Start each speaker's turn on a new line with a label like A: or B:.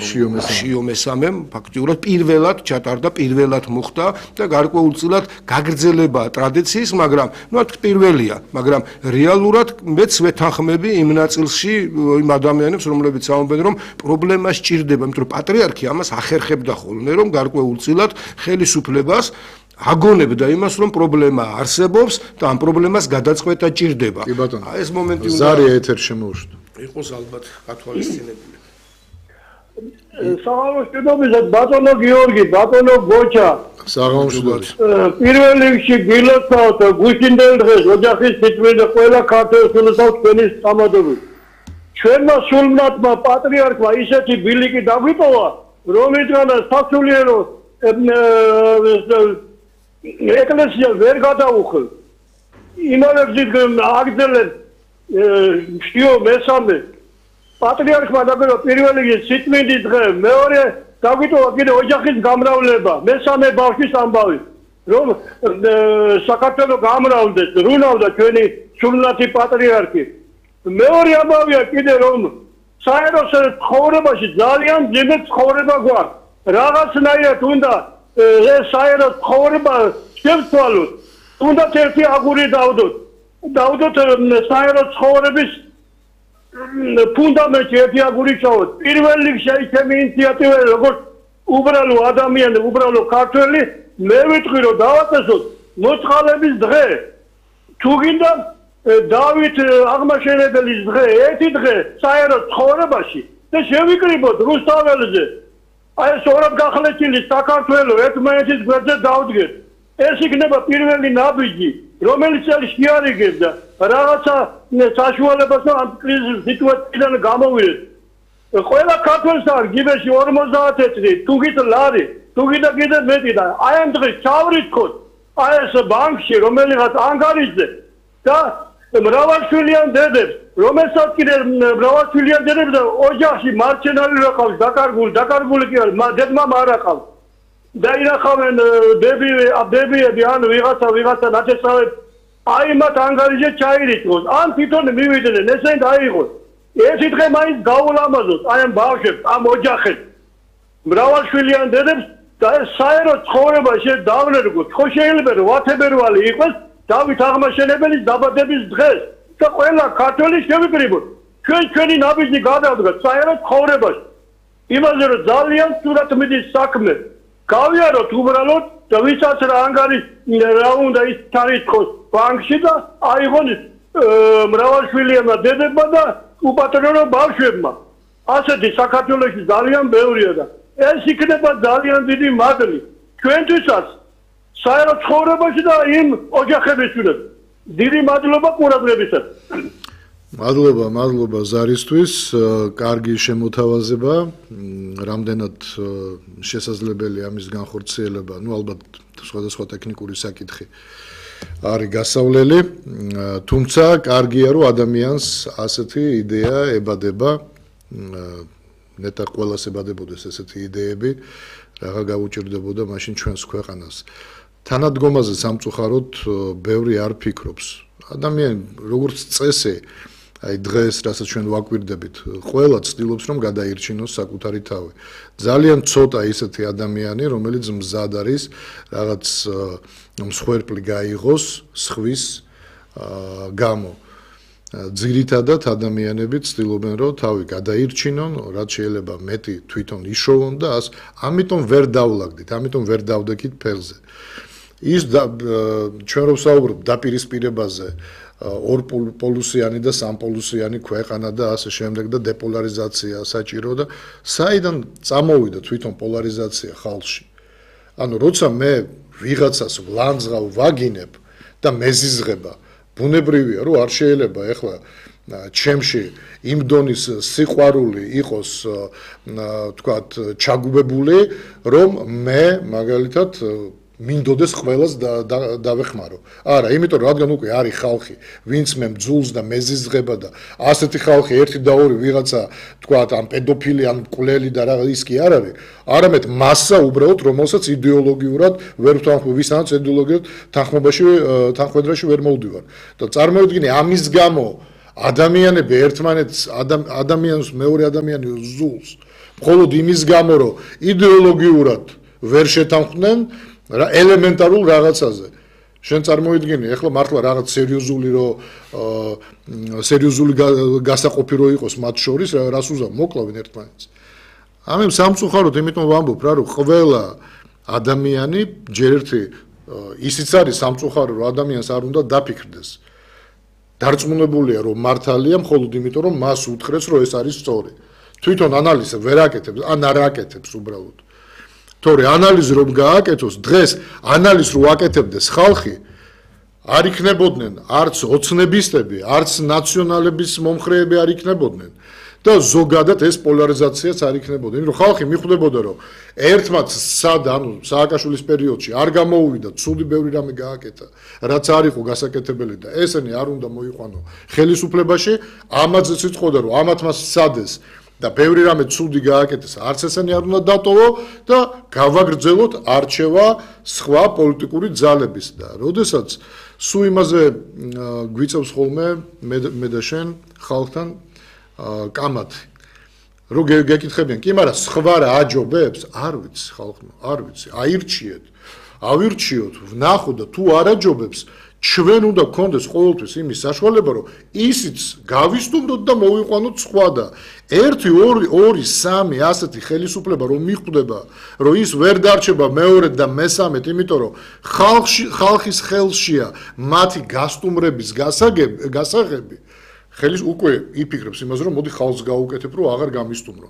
A: შიო მესამემ ფაქტიურად პირველად ჩატარდა, პირველად მოხდა და გარკვეულწილად გაგრძელება ტრადიციის, მაგრამ პირველია, მაგრამ რეალურად მეც ვეთანხმები იმ ნაწილში იმ ადამიანებს, რომლებიც ამბობენ, რომ პრობლემა სჭირდება, იმიტომ რომ პატრიარქი ამას ახერხებდა ხოლმე, რომ გარკვეულწილად ხელისუფლებას აგონებდა იმას, რომ პრობლემა არსებობს და ამ პრობლემას გადაწყვეტა ჭირდება. ეს მომენტი უნდა
B: ზარი ეთერში შემოუშვით.
A: იყოს ალბათ გათვალისწინებული.
C: საღამოშიდობისად ბატონო გიორგი, ბატონო გოჩა.
B: საღამოშიდობთ.
C: პირველ რიგში გილოცავთ გუშინდელ დღეს ოჯახის სიწმინდე ყველა ქართველს გილოცავთ თქვენი სამადობით. ჩვენმა სულმნათმა პატრიარქმა ისეთი ბილიკი დაგვიპოვა, რომლითაც სასულიერო ეკლესია ვერ გადაუხელ. იმალებს აგრძელენ შიო მესამე პატრიარქმა დაგერო პირველი სიწმინდის დღე, მეორე დაგვიტოვა კიდე ოჯახის გამრავლება, მესამე ბავშვის ამბავი, რომ საქართველოს გამრავლდეს, რულავდა ჩვენი სულმნათი პატრიარქი. მეორე ამბავია კიდე რომ საერო ცხოვრებაში ძალიან ძიმე ცხოვრება გვაქვს. რაღაცნაირად უნდა ეს საერო ცხოვრება შევცვალოთ. უნდა ერთი აგური დავდოთ. დავდოთ საერო ცხოვრების ფუნდამენტი ერთი აგური ჩავოთ. პირველ რიგში ჩემი ინიციატივა როგორც უბრალო ადამიანი, უბრალო ქართველი, მე ვიტყვი რომ დავაწესოთ მოწყალების დღე. თუ გინდა დავით აღმაშენებელის დღე, ერთი დღე საერო ცხოვრებაში და შევიკრიბოთ რუსთაველზე. აი ეს ორად გახლეჩილი საქართველოს ერთმანეთის გვერდზე დავდგეთ. ეს იქნება პირველი ნაბიჯი, რომელიც შეარიგებს და რაღაცა საშუალებას ამ კრიზის სიტუაციიდან გამოვიდეთ. ყველა ქართველს არ გიბეში 50 წელი, თუ გით ლარი, თუ გინდა კიდე მეტი და აი ამ დღეს ჩავრიცხოთ აი ეს ბანკში, რომელიღაც ანგარიშზე და მრავალშვილიან დედებს, რომელსაც კიდე მრავალშვილიან დედებს და ოჯახში მარჩენალი რა ყავს, დაკარგული კი არის, დედმა არ ყავს. და ინახავენ ბებიები ან ვიღაცა ნათესავებს აი მათ ანგარიშზე ჩაირიცხოს, ან თვითონ მივიდნენ, ესენი დაიღოს. ერთი დღე მაინც გაულამაზოთ აი ამ ბავშვებს, ამ ოჯახებს, მრავალშვილიან დედებს და ეს საერო ცხოვრება დავნერგოთ. ხო შეიძლება რომ ვათებერვალი იყოს დავით აღმაშენებელის დაბადების დღეს და ყველა ქართველი შევიკრიბოთ. ჩვენი ნაბიჯი გადავდგათ საერო ცხოვრებაში. იმაზე რომ ძალიან სწორად მიდის საქმე. გავიაროთ უბრალოდ და ვისაც რა ანგარიში რა უნდა ის თარიღოს ბანკში და აიღონ მრავალშვილიანმა დედებმა და უპატრონო ბავშვებმა. ასეთი საქართველოში ძალიან ბევრია და ეს იქნება ძალიან დიდი მადლი ჩვენთვისაც საერო ცხოვრებაში და იმ ოჯახებისთვის. დიდი მადლობა ყურადღებისას.
B: მადლობა ზარისთვის, კარგი შემოთავაზება, რამდენად შესაძლებელია ამის განხორციელება, ალბათ სხვადასხვა ტექნიკური საკითხი არის გასავლელი, თუმცა კარგია რომ ადამიანს ასეთი იდეა ებადება, ნეტარ ყველას ებადებოდეს ესეთი იდეები, რაღა გაუჭირდებოდა მაშინ ჩვენს ქვეყანას. თანადგომაზე სამწუხაროდ ბევრი არ ფიქრობს. ადამიანი როგორც წესი აი დღეს რასაც ჩვენ ვაკვირდებით, ყველა ცდილობს რომ გადაირჩინოს საკუთარი თავი. ძალიან ცოტა ისეთი ადამიანი, რომელიც მზად არის რაღაც მსხვერპლი გაიღოს სხვის გამო. ძირითადად ადამიანები ცდილობენ რომ თავი გადაირჩინონ, რაც შეიძლება მეტი თვითონ იშოვონ და ამიტომ ვერ დავლაგდით, ამიტომ ვერ დავდექით ფეხზე. ის ჩვენ რო ვსაუბრობ დაპირისპირებაზე ორპოლუსიანი და სამპოლუსიანი ქვეყანა და ასე შემდეგ და დეპოლარიზაცია საჭირო და საიდან წამოვიდა თვითონ პოლარიზაცია ხალხში. ანუ როცა მე ვიღაცას ვლანძღავ ვაგინებ და მეზიზღება, ბუნებრივია რომ არ შეიძლება ეხლა ჩემში იმ დონის სიყვარული იყოს თქვათ ჩაგუბებული, რომ მე მაგალითად მინდოდეს ყველას დავეხმარო. არა, იმიტომ რომ რადგან უკვე არის ხალხი, ვინც მე მძულს და მეზიზღება და ასეთი ხალხი ერთი და ორი ვიღაცა თქვათ ამ პედოფილი ან მკვლელი და რა ის კი არ არის, არამედ მასა უბრალოდ რომელსაც იდეოლოგიურად ვერ ვთანხმობ, ვისაც იდეოლოგიურად თანხმობაში ვერ მოვდივარ. და წარმოვიდგინე ამის გამო ადამიანები ერთმანეთს ადამიანს მეორე ადამიანი ზულს მხოლოდ იმის გამო რომ იდეოლოგიურად ვერ შეთანხმდნენ ელემენტარულ რაღაცაზე შენ წარმოიდგინე ახლა მართლა რაღაც სერიოზული გასაყოფი რო იყოს მათ შორის რას უზავ მოკლავენ ერთმანეთს ამე სამწუხაროდ იმიტომ ვამბობ რა რომ ყველა ადამიანი ჯერ ერთი ისიც არის სამწუხარო რომ ადამიანს არ უნდა დაფიქრდეს დარწმუნებულია რომ მართალია მხოლოდ იმიტომ რომ მას უთხრეს რომ ეს არის სწორი თვითონ ანალიზი ვერ აკეთებს ან არ აკეთებს უბრალოდ თორე ანალიზი რომ გააკეთოს დღეს ანალიზს რო აკეთებდეს ხალხი არ იქნებოდნენ არც ოცნებისტები არც ნაციონალების მომხრეები არ იქნებოდნენ და ზოგადად ეს პოლარიზაციაც არ იქნებოდა იმიტომ რომ ხალხი მიხვდებოდა რომ ერთმანც სააკაშვილის პერიოდში არ გამოუვიდა ცუდი ბევრი რამე გააკეთა რაც არ იყო გასაკეთებელი და ესენი არ უნდა მოიყვანო ხელისუფლებაში ამაზეც იტყოდა რომ ამათ მას სადეს და ბევრი რამე ცუდი გააკეთეს არც ესენი არ უნდა დატოვო და გავაგრძელოთ არჩევა სხვა პოლიტიკური ძალების და როდესაც სულ იმაზე გვიწევს ხოლმე მე და შენ ხალხთან კამათი რო გეკითხებიან კი მაგრამ სხვა რა აჯობებს არ ვიცი ხალხო არ ვიცი ავირჩიოთ ვნახო და თუ არ აჯობებს ჩვენ უნდა გქონდეს ყოველთვის იმის საშუალება რომ ისიც გავისტუმროთ და მოვიყვანოთ სხვა და 1 2 3 ასეთი ხელისუფლება რომ მიხვდება რომ ის ვერ დარჩება მეორედ და მესამედ იმიტომ რომ ხალხის ხელშია მათი გასტუმრების გასაღები ხელის უკვე იფიქრებს იმაზე რომ მოდი ხალხს გაუკეთებ რომ აღარ გამისტუმრო